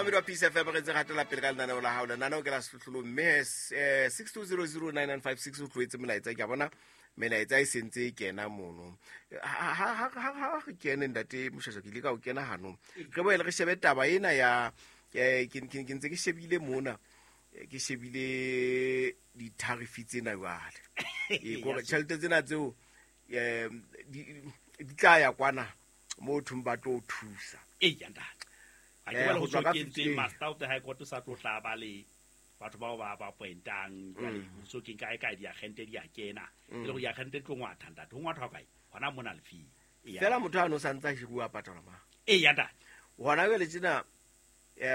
Mamedi wa Peace FM, re ntse re hatela pele ka lenaneo la hao. Lenaneo ke la Sehlohlolong, mme 62009956 o tlohetse molaetsa. Ke a bona melaetsa e sentse e kena mono. Ha re kene, ntate Moshasha, ke ile ka o kena hanong. Re boele re shebe taba ena ya ke ntse ke shebile mona, ke shebile di-tariff tsena jwale. Kore tjhelete tsena tseo di tla ya kwana mo thong ba tlo thusa. Ee, ntate. A ke bale ho tswa kentseng Master of the High Court sa tlo tla ba le batho bao ba pointang jwale ho so keng kae kae diagente di a kena e le go diagente di tlo ngwatha, ntate, ho ngwathwa kae hona mona lefing. Fela motho a no sa ntse a hiruwa a patalwa ma. Ee, ntate. Hona jwale tjena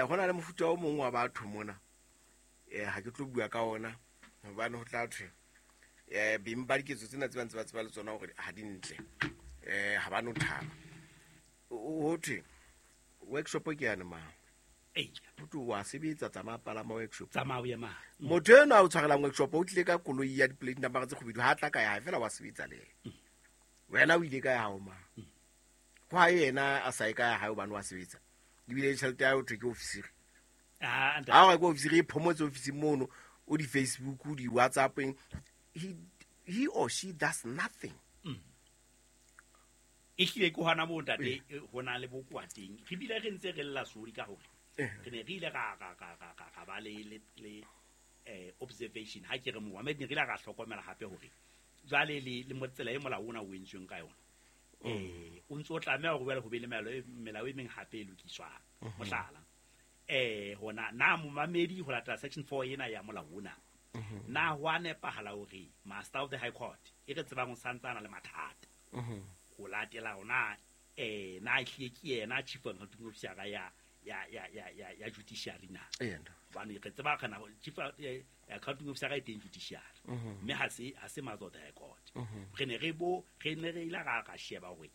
ho na le mofuta o mong wa batho mona, ha ke tlo bua ka ona hobane ho tla thwe beng ba diketso tsena tse ba ntse ba tseba le tsona hore ha di ntle, ha ba no thaba. Ho thwe workshop ke yane mang, ho thwe wa sebetsa, tsamaya palama workshop. Tsamaya o ye mang. Motho eno a o tshwarelang workshop o tlile ka koloi ya di-plate number tse kgubedu, ha tla ka ya hae fela wa sebetsa le yena. Wena o ile ka ya hao mang? Ho ha yena a sa ye ka ya hae hobane wa sebetsa, ebile tjhelete ya hae ho thwe ke ofisiri. Ha o re ke ofisiri, e phomotse ofising mono, o di-Facebook, o di-WhatsAppeng, he or she does nothing. E hlile ke hona moo, ntate, ho na le bokowa teng. Re bile re ntse re lla sori ka hore re ne re ile ra ba le observation. Ha ke re Mohammed, ne re ile ra hlokomela hape hore jwale le mo tsela e molao ona o entsweng ka yona, o ntso tlameha hore jwale ho be le melao e meng hape e lokiswang. Mohlala, hona na momamedi, ho latela section 4 ena ya molao ona, na ho a nepahala hore Master of the High Court e re tsebang o santsana le mathata ho latela hona na ehlile ke yena chief accounting officer ya judiciary na? Hobane re tseba kana chief accounting officer e teng judiciary, mme ha se Master of the High Court. Re ne re ile ra sheba hore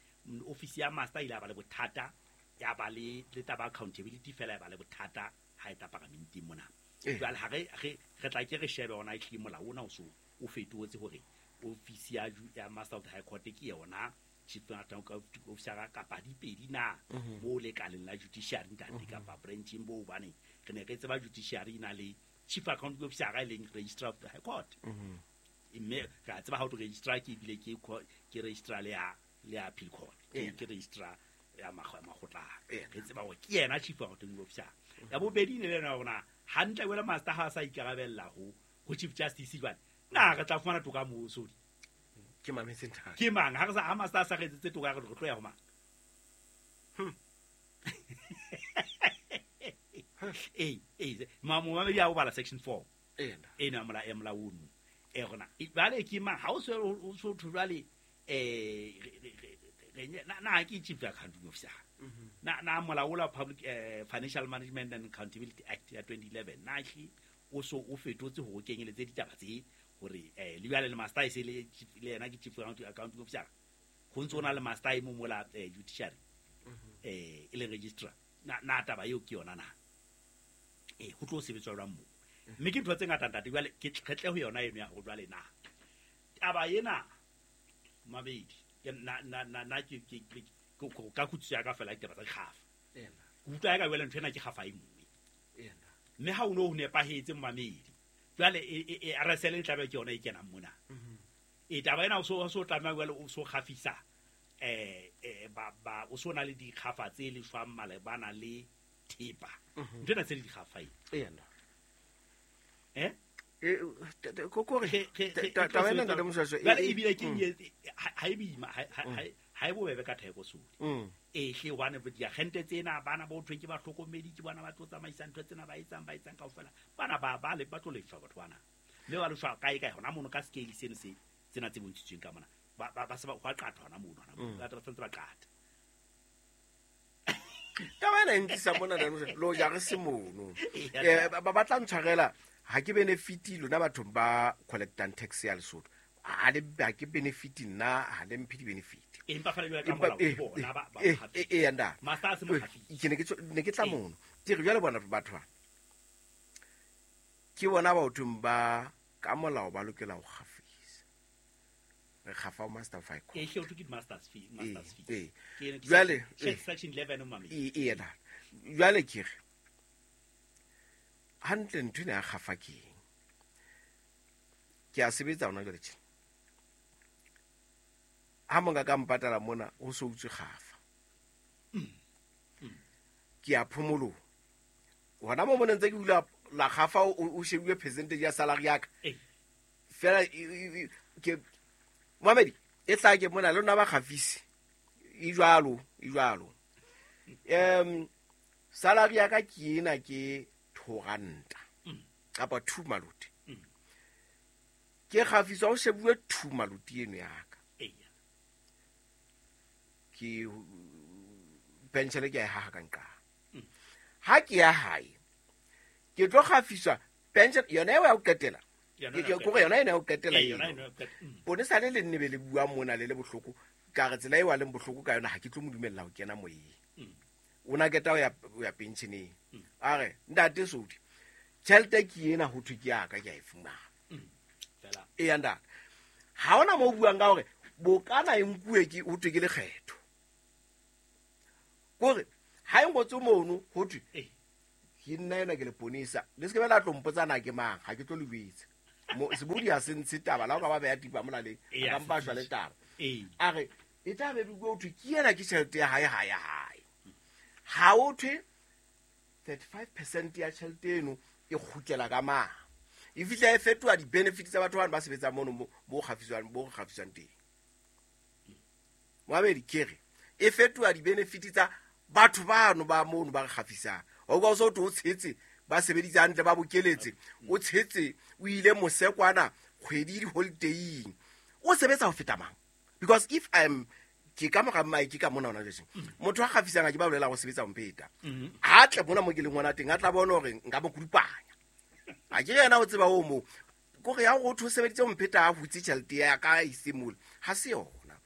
office ya master ile ya ba le bothata, ya ba le taba accountability fela, ya ba le bothata ha e tla paramenteng mona. Jwale ha re tla ke re shebe hona ehlile molao ona o so o fetotse hore office ya Master of the High Court ke yona chief accounting officer kapa dipedi na mo lekaleng la judiciary, ntate, kapa branching bo, hobane re ne re tseba judiciary e na le chief accounting officer e leng registrar of the High Court. Mme re a tseba ha o registrar ke ebile ke registrar le ya appeal court, ke registrar ya makgotlana. Re tseba hore ke yena chief accounting officer. Ya bobedi ne le yona hore hantle wela master ha a sa ikarabella ho Chief Justice, jwale na re tla fumana toka moo, sodi? Ke mametse, ntate. Ke mang ha re sa ha master a sa re etsetse toka, re tlo ya ho mang? Ee, momamedi a o bala section 4 eno ya molao ono e rona jwale ke mang ha o se o so thwe jwale na ke chief accounting officer na molao ola Public Financial Management and Accountability Act ya 2011 na hle o so o fetotse hore o kenyeletse ditaba tse hore le jwale le master e se le yena ke chief accounting officer, ho ntse o na le master e mo mola judiciary e leng registrar, na taba eo ke yona na ho tlo sebetswa jwang moo? Mme ke ntho tse ngata, ntate. Jwale ke re tle ho yona eno ya hore jwale na taba ena mabedi ke na ke ka kutsiso ya ka fela ditaba tsa dikgafa, ke utlwa ya ka jwale ntho ena ke kgafa e nngwe. Mme ha o no ho nepahetse, momamedi, jwale RSL e tlabe ke yona e kenang mona. E taba ena o so tlameha jwale o so kgafisa ba o so na le dikgafa tse lefang malebana le thepa, ntho ena tse le dikgafa e. Kore taba ena, ntate Moshwashwa, jwale ebile ke ha e boima, ha e bobebe ka theko sodi. E hle, hobane diagente tsena bana bo thweng ke bahlokomedi, ke bona ba tlo tsamaisa ntho tsena, ba etsang kaofela bana ba le ba tlo lefshwa batho bana, mme ba lefshwa kae kae hona mono ka scale seno se tsena tse bontshitsweng ka mona, ba se ba hwa qatha hona mono, hona mono ba santse ba qatha. Taba ena e ntlisa mona, ntate Moshwashwa, lo ja re se mono. Ba tla ntshwarela, ha ke benefit lona bathong ba collectang tax ya Lesotho, ha le ha ke benefit nna, ha le mphe di-benefit. Empa fela jwale ka molao ke bona ba Ee, nda Master a se mohafisi. Ke ne ke tla mono, ke re jwale bona batho ba ke bona bathong ba ka molao ba lokela ho kgafisa, re kgafa ho Master of High Court. E hle, o thwe ke di-masters fee, masters fee. Jwale, Section 11, momamedi. Ee, ntate. Jwale ke re Hantle ntho ena ya kgafa ke eng? Ke a sebetsa hona jwale tjena. Ha monga ka mpatala mona ho so utswe kgafa. Ke a phomolong. Hona mo mona ntse ke hula la kgafa o shebuwe percentage ya salary ya ka. Fela ke Mohamedi e tla ke mona le nna ba kgafisi. E jwalo, e jwalo. Salary ya ka ke ena ke 2 ranta. Kapa 2 maluti. Ke kgafiswa o shebuwe 2 maluti eno ya ka. Ke pension ke ya haha ka nqa. Ha ke ya hae ke tlo kgafiswa pension yona eo ya ho qetela. Ke kore yona ena ya ho qetela eno. Bone sale le nne be le bua mona le le bohloko ka re tsela eo a leng bohloko ka yona ha ke tlo mo dumella ho kena moyeng. O na keta ho ya pensioneng. A re ntate Sodi tjhelete ke ena ho thwe ke ya ka ke a e fumana. E ya ntate. Ha hona mo buang ka hore bokana e nkuwe ke ho thwe ke lekgetho. Kore ha e ngotswe mono ho thwe ke nna ena ke le ponisa le se ke la tlo mpotsa na ke mang ha ke tlo le buitse. Mo sebodi ha se ntshe taba la o ka ba beha tipa molaleng a ka mpa shwa le taba. A re e tla be bua ho thwe ke ena ke tjhelete ya hae ha ya hae. Ha o thwe 35% ya tjhelete eno e kgutlela ka mang. E fihla e fetoha di-benefits tsa batho bana ba sebetsang mono bo kgafiswang teng. Moabedi ke re e fetoha di-benefits tsa batho bano ba mono ba re kgafisang. O ka o so o tshetse ba sebeditse hantle ba bokeletse o tshetse o ile mosekwana kgwedi di-holidaying o sebetsa ho feta mang. Because if I'm ke ka mora mike ka mona hona jwale motho a kgafisang a ke ba bolela go sebetsa mpeta ha tle mona mo ke leng ngwana teng a tla bona hore nka mo kudupanya a ke yena o tseba o mo kore ya go tho sebeditse mpheta a hutse tjhelete ya ka e simole ha se yona.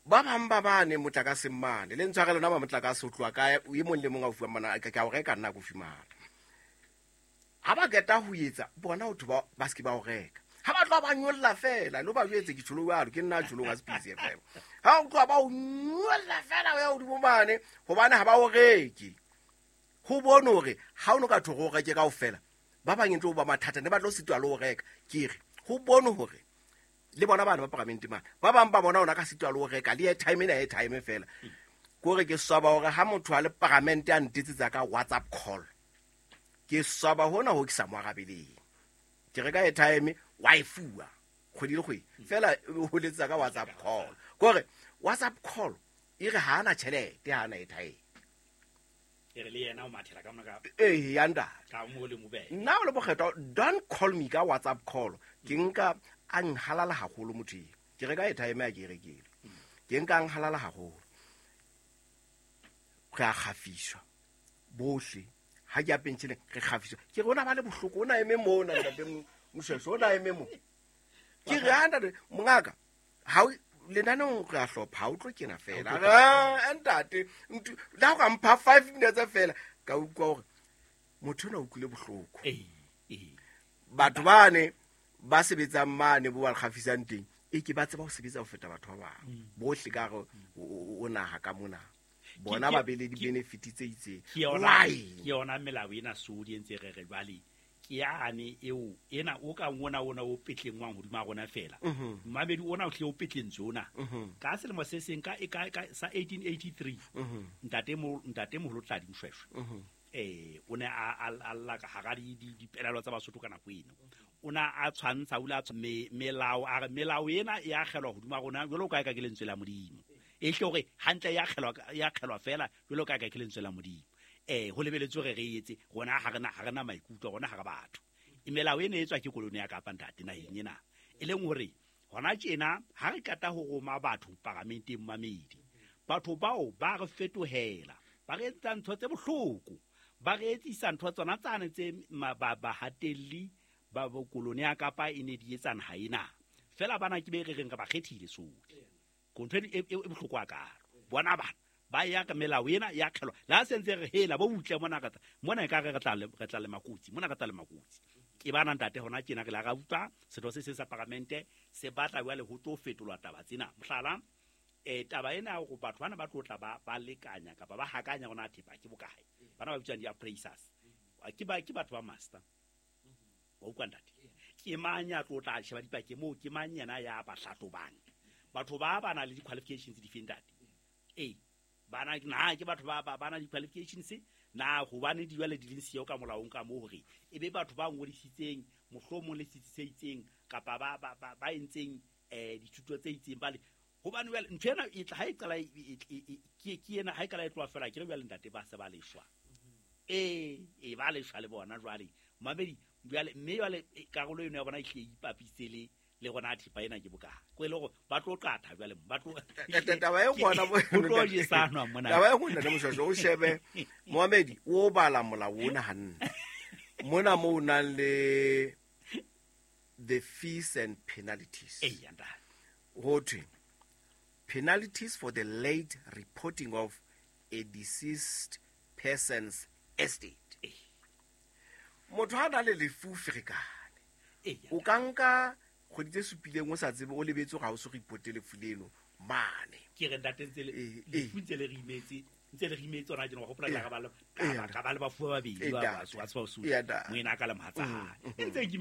Ba bang ba bane motlakase mane le ntshware lona ba motlakase o tloha ka e mong le mong a o fuwa mana ka o reka nna go fumana. Ha ba qeta ho etsa bona ho ba ba se ke ba o reka. Ha ba tloha ba nyolla fela lo ba jwetse ke tsholo jwalo ke nna tsholo ga Space FM. Ha o tloha ba o nyolla fela o ya hodimo mane hobane ha ba o reke. Ho bone hore ha o no ka thogo o reke kaofela ba bang ntlo ba mathata ne ba tlo sitwa le ho reka. Ke re ho bone hore le bona bana ba paramente mane ba bang ba bona ona ka sitwa le ho reka le airtime ena airtime fela. Kore ke swaba hore ha motho a le paramente a ntetsetsa ka WhatsApp call ke swaba hona ho ke sa mo arabeleng. Ke reka airtime wa e fuwa kgwedi le kgwedi fela o letsa ka WhatsApp call. Kore WhatsApp call e re ha ana tjhelete ha ana airtime. E re le yena o mathela ka mona ka eh ya nda ka mo le mobele. Nna o le bokgetho don't call me ka WhatsApp call. Ke nka a nhalala haholo motho eo. Ke reka airtime ya ke rekile. Ke nka a nhalala haholo. Re a kgafiswa bohle ha ke a pentsheleng re kgafiswa. Ke rona ba le bohloko ona eme mona ntate Moshweshwe ona eme mo. Ke re ha ntate mongaka ha lenaneong re a hlopha ha o tlo kena fela. Ah ntate la go mpha 5 minutes fela ka utlwa hore motho ona o utlwile bohloko. Batho bane ba sebetsang mane bo ba kgafisang teng e ke ba tseba ho sebetsa ho feta batho ba bang bohle ka re o naha ka mona bona ba bele di-benefit tse itseng. Ke yona melao ena Sodi e ntse re re jwale ke yane eo ena o ka ngona ona o petlengwang hodima rona fela. Mmamedi ona o tle o petlentswe ona. Ka selemo se seng ka sa 1883 ntate moholo Tladi Moshweshwe o ne a lla ka hara dipelaelo tsa Basotho ka nako eno. O na a tshwantsha o la melao a re melao ena e akgelwa hodima rona jwalo ka ka ke lentswe la Modimo. E hle hore hantle ya akgelwa fela jwalo ka ka ke lentswe la Modimo. Ho lebeletswe re re etse rona ha rena maikutlo rona ha re batho. Melao ena e tswa ke koloni ya Kapa ntate naheng ena. E leng hore hona tjena ha re qeta ho roma batho paramenteng mamedi. Batho bao ba re fetohela, ba re etsa ntho tse bohloko, ba re etsisa ntho tsona tsane tse bahatelli ba koloni ya Kapa e ne di etsa naha ena. Fela bana ke be re reng re ba kgethile Sodi. Ko ntho e bohloko hakalo. Bona bana ba ya ka melao ena ya kgelwa la sentse re hela bo butle mona ka mona e ka re tla le makotsi mona ka tla le makotsi. Ke bana ntate hona tjena re la ra utlwa setho se seng sa paramente se batla jwale ho tlo fetolwa taba tsena. Mohlala taba ena ya hore batho bana ba tlo tla ba lekanya kapa ba hakanya hona thepa ke bokae. Bana ba bitswang di-appraisers. Ke batho ba master. Wa utlwa ntate? Ke mang ya tlo tla sheba dipakeng moo, ke mang yena ya ba hlahlobang? Batho ba na le di-qualifications di feng ntate? Ee, bana na ke batho ba na di-qualifications na hobane di jwale di leng siyo ka molaong ka moo hore e be batho ba ngodisitseng mohlomong le setsi se itseng kapa ba entseng dithuto tse itseng ba le hobane jwale ntho ena e tla ha e qala ke ena ha e qala e tloha fela ke re jwale ntate ba se ba leshwa. Ee ba leshwa le bona jwale mamedi jwale mme jwale karolo eno ya bona e hle e ipapise le gona thepa ena ke bokae ko e le gore ba tlo qatha jwale ba tlo taba e gona ho tlo jesanwa mona. Taba e gona le Moshweshwe o shebe Mohamedi o bala molao ona hantle mona mo o nang le the fees and penalties. Ee, ntate. Ho thwe penalties for the late reporting of a deceased person's estate. Motho ha na le lefu ferekane. O ka nka kgwedi tse supileng o sa tsebe o lebetse ga o se reporte lefu leno mane. Ke re ntate ntse le lefu ntse le re imetse ntse le re imetse ona tjena wa hopola ka ba le ba fuwa babedi ba ba tswa tswa moena ka le mohatsa. Ntse ke